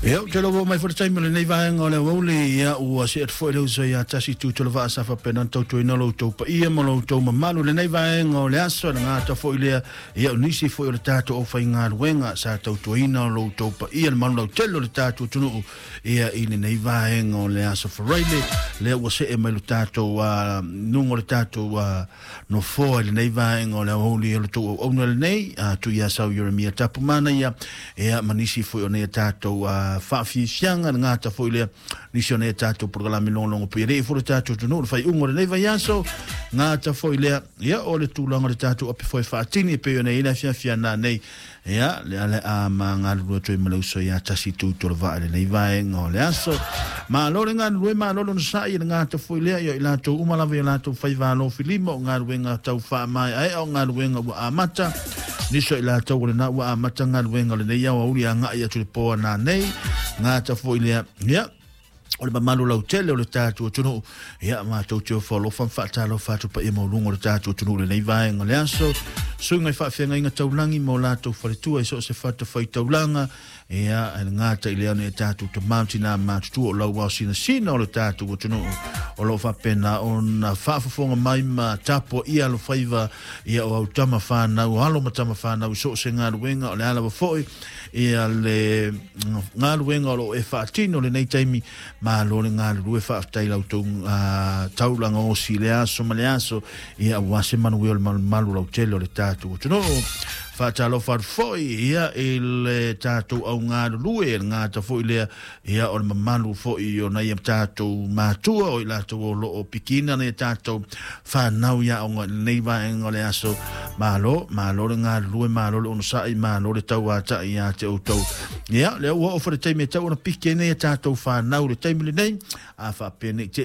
Ia, ou te iloa ua oo mai foi le taimi o lenei vaega o le aoauli, ia, ua see atu foi le uso ia Tasi Tuitolovaa sa faapena ona tautuaina lo outou paia ma lo outou mamalu i lenei vaega o le aso, e le gata foi lea, ia, o nisi foi o le tatou aufaigaluega sa tautuaina lo outou paia, le malu lautele o le tatou atunuu, ia, i lenei vaega o le aso Faraile, lea ua see mai lo tatou luga o le tatou nofoa i lenei vaega o le aoauli o le tou auauna lenei, Tuiasau Ieremia Tapumanaia, ia, ma nisi foi o nei a tatou faafiafiaga, le gata foi lea, nisi o nei a tatou polokalame logologo pui alii foi le tatou atunuu le faaiuga o lenei vaiaso, gata foi lea, ia, o le tulaga o le tatou ape foi faatini e pei ona i ai le afiafi a nanei, ia, le ale a ma galulue atu ai ma le uso ia Tasi Tuitolovaa i lenei vaega o le aso. Malo le galulue, malo le onosai, e le gata foi lea, ia i latou uma lava i o latou faiva alofilima o galuega tau faamaeaea o galuega ua amata. Nisi o i latou o lena ua amata galuega o lenei aoauli agai atu i le po a nanei, gata foi lea, ia, o le mamalu lautele o le tatou atunuu. Ia, matou te ofo alofa ma faatalofa atu paia maualuga o le tatou atunuu i lenei vaega o le aso. Suiga i faafeagaiga taulagi ma o latou faletua i so o se fatafaitaulaga. Ia, e le gata i lea o nai a tatou tama ma tina matutua o lauao sinasina o le tatou atunuu o lo o faapena ona faafofoga mai ma tapuaia alofaiva, ia, o au tama fanau, o alo ma tama fanau i so o se galuega o le a lava foi ia le galuega o lo o e faatino lenei taimi. Malo le galulue, faafetai i la outou taulaga osi i le aso ma le aso, ia, aua se manuia o le malumalu lautele o le tatou atunuu. Faatalofa atu foi, ia, i le tatou au galulue, le gata foi lea, ia, o le mamalu foi o nai a tatou matua o i latou o lo o pikiina nai a tatou fanau i aoga i lenei vaega o le aso. Malo, malo le galulue, malo le onosai, malo le tauatai ia te outou. Ia, lea ua oo foi le taimi e tau ona piki ai nei a tatou fanau i le taimi lenei, a faapea nei te